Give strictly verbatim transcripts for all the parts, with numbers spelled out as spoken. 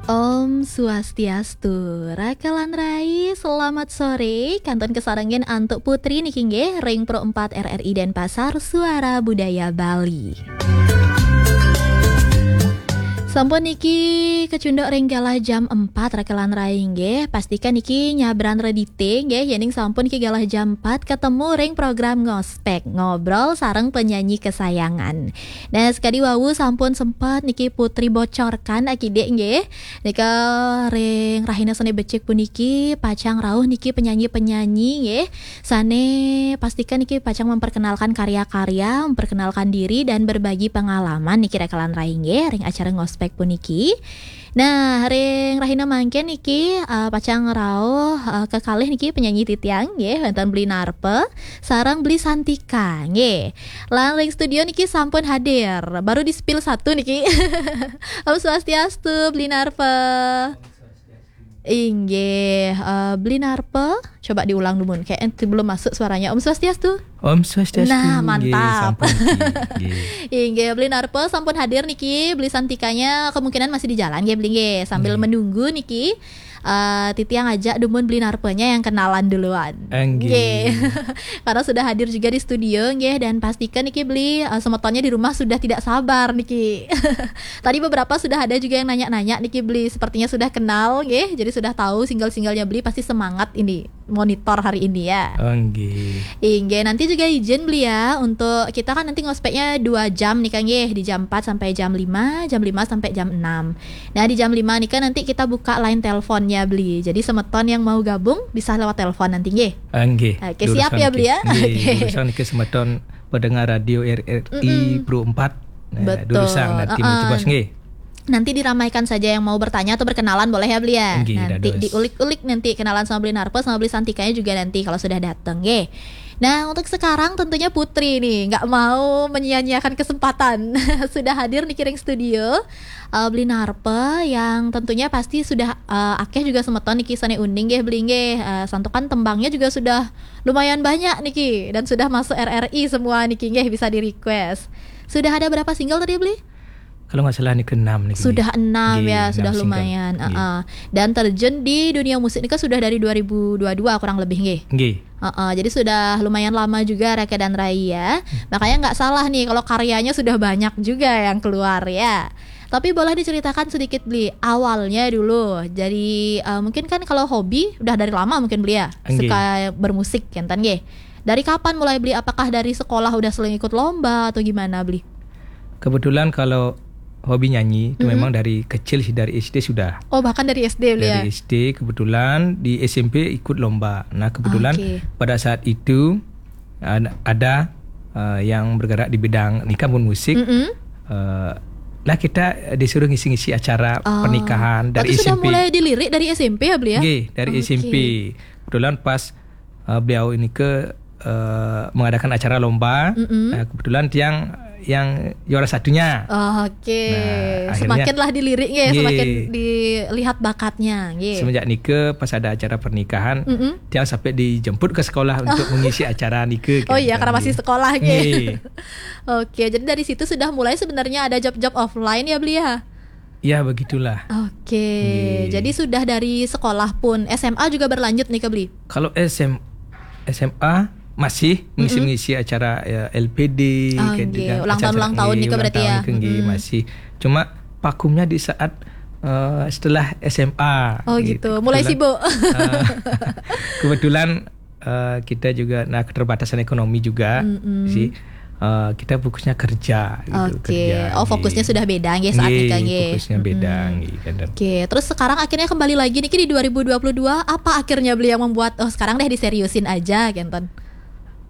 Om Swastiastu, Raka lan Rai, selamat sore. Kantun kasarengin antuk Putri niki nggih, ring Pro empat R R I Denpasar, Suara Budaya Bali. Sampun niki kacunduk ring galah jam empat, Raka lan Rai nggih. Pastikan niki nyabran redite nggih, yening sampun niki galah jam empat, ketemu ring program Ngospek, ngobrol sareng penyanyi kesayangan. Nah, sekadi wau sampun sempat niki Putri bocorkan akidik nggih. Nika ring rahina sane becik puniki pacang rauh niki penyanyi-penyanyi nggih. Sane pastikan niki pacang memperkenalkan karya-karya, memperkenalkan diri dan berbagi pengalaman niki Raka lan Rai nggih ring acara Ngospek puniki. Nah, ring rahina mangkin niki, eh, pacang rauh, eh, kekalih niki penyanyi titiang nggih, wenten Beli Narpe sareng Beli Santika nggih. Lan ring studio niki sampun hadir. Baru di-spill satu niki. Om Swastiastu, Beli Narpe. Inggih, eh, Beli Narpe. Coba diulang dulu, kayak belum masuk suaranya. Om Swastiastu. Om Swastiastu. Nah, nggih, mantap. Sampun niki. Nggih. Inggih, Beli Narpe sampun hadir niki. Beli Santikanya kemungkinan masih di jalan nggih, Beli nggih. Sambil Nggih. menunggu niki. Eh, titiang ajak dumun Beli Narpenya yang kenalan duluan. Enggih. Nggih. Karena sudah hadir juga di studio nggih, dan pastikan niki Beli, eh, semetonnya di rumah sudah tidak sabar niki. Tadi beberapa sudah ada juga yang nanya-nanya niki Beli, sepertinya sudah kenal nggih, jadi sudah tahu single-singlenya Beli, pasti semangat ini monitor hari ini ya. Enggih. Inggih, nanti juga izin Beli ya, untuk kita kan nanti ngospeknya dua jam nih Kang nggih, di jam empat sampai jam lima, jam lima sampai jam enam. Nah, di jam lima nih kan nanti kita buka line teleponnya Beli. Jadi semeton yang mau gabung bisa lewat telepon nanti nggih. Enggih. Oke, siap ya Beli ya? Nggih, oke. Durusang niki semeton pendengar radio R R I Mm-mm. Pro empat. Nah, Betul. durusang nanti Heeh. mencobos nggih. Nanti diramaikan saja yang mau bertanya atau berkenalan boleh ya Beli ya. Nggih, Nanti dados. diulik-ulik nanti kenalan sama Beli Narpe sama Beli Santikanya juga nanti kalau sudah datang nggih. Nah, untuk sekarang tentunya Putri nih nggak mau menyia-nyiakan kesempatan. Sudah hadir niki ring studio, eh, Beli Narpe yang tentunya pasti sudah, eh, akeh juga semeton niki sane uning nggih Beli nggih. Eh, santukan tembangnya juga sudah lumayan banyak niki dan sudah masuk R R I semua niki nggih, bisa di-request. Sudah ada berapa single tadi Beli? Kalau nggak salah niki enam niki. Sudah enam Nggih, ya, enam sudah single. lumayan. Nggih. Heeh. Dan terjun di dunia musik niki sudah dari dua ribu dua dua kurang lebih nggih. Nggih. Heeh, jadi sudah lumayan lama juga Raka dan Rai ya. Hmm. Makanya nggak salah nih kalau karyanya sudah banyak juga yang keluar ya. Tapi boleh diceritakan sedikit Beli, awalnya dulu. Jadi, eh, mungkin kan kalau hobi udah dari lama mungkin Beli ya, Nggih. suka bermusik kenten nggih. Dari kapan mulai Beli? Apakah dari sekolah udah sering ikut lomba atau gimana Beli? Kebetulan kalau hobi nyanyi itu Mm-mm. memang dari kecil sih, dari S D sudah. Oh, bahkan dari S D Beli ya? Dari S D kebetulan, di S M P ikut lomba. Nah, kebetulan Oke. pada saat itu ada, ada, eh, yang bergerak di bidang nika pun musik. Mm-mm. Eh, lah kita disuruh ngisi-ngisi acara Oh. pernikahan dari Berarti sudah S M P. mulai dilirik dari S M P ya Beli ya? Nggih, dari Oke. S M P. Kebetulan pas, eh, beliau ini ke, eh, mengadakan acara lomba. Mm-mm. Nah, kebetulan tiang yang juara satunya. Oke. Nah, akhirnya Semakinlah dilirik nggih, Nggih. semakin dilihat bakatnya nggih. Semenjak nika pas ada acara pernikahan, Mm-mm. tiang sampai dijemput ke sekolah untuk mengisi acara nika Oh kan. iya, karena masih Nggih. sekolah nggih. Nggih. Oke, jadi dari situ sudah mulai sebenarnya ada job-job offline ya Beli ya? Ya, begitulah. Oke, Nggih. jadi sudah dari sekolah pun, S M A juga berlanjut nih ke Beli? Kalau S M, S M A masih Mm-mm. mengisi-mengisi acara, ya, L P D, Oh, kayak nggih. gitu kan, Ulang tahun, acara-acara, ulang tahun nggih, nih ke ulang berarti tahun ya? ke, nggih, Mm-mm. masih. Cuma vakumnya di saat, eh, setelah S M A, Oh, gitu. gitu. Mulai Kebetulan, sibuk. eh, kebetulan, eh, kita juga, nah, keterbatasan ekonomi juga Mm-mm. sih. Eh, kita fokusnya kerja gitu, Oke. kerja, Oh, fokusnya nggih. sudah beda nggih saat Nggih, nikah nggih. fokusnya beda Mm-mm. nggih, kadang. Oke, terus sekarang akhirnya kembali lagi niki di dua ribu dua puluh dua, apa akhirnya Beli yang membuat, "Oh, sekarang deh diseriusin aja," kenten?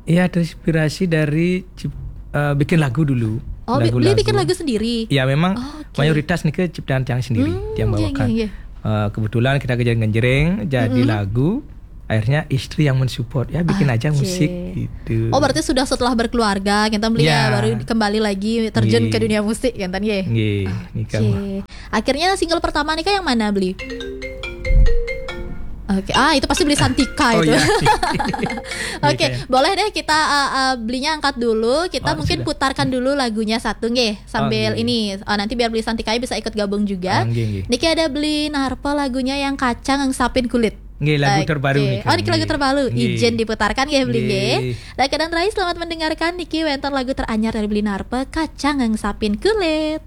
Iya, terinspirasi dari cip-, eh, bikin lagu dulu. Oh, Bi-, Beli bikin Lagu-lagu. lagu sendiri? Ya, memang Oke. mayoritas nika ciptaan tiang sendiri, Hmm, tiang nggih, bawakan. nggih, nggih. Eh, kebetulan kita kerja ngenjreng, jadi Mm-mm. lagu, akhirnya istri yang mensupport, "Ya, bikin aja Oke. musik," gitu. Oh, berarti sudah setelah berkeluarga, kita Beli ya, Ya. baru kembali lagi terjun Nggih. ke dunia musik, kenten nggih? Nggih, nika Oke. mah. Akhirnya single pertama nika yang mana, Beli? Oke, ah, itu pasti Beli Santika Oh itu. Iya. Oke, Iya. Boleh deh kita uh, uh, Belinya angkat dulu. Kita Oh, mungkin sudah. Putarkan dulu lagunya satu nggih sambil Oh, iya. Ini. Oh, nanti biar Beli Santika bisa ikut gabung juga. Ah, nggih, nggih. Niki ada Beli Narpa lagunya yang Kacang Ngengsapin Kulit. Nggih, lagu Oke. terbaru nih. Oh, niki lagu terbaru. Nggih. Izin diputarkan ya Beli Nggih. nggih. Dan kadang terakhir selamat mendengarkan niki wénten lagu teranyar dari Beli Narpa Kacang Ngengsapin Kulit.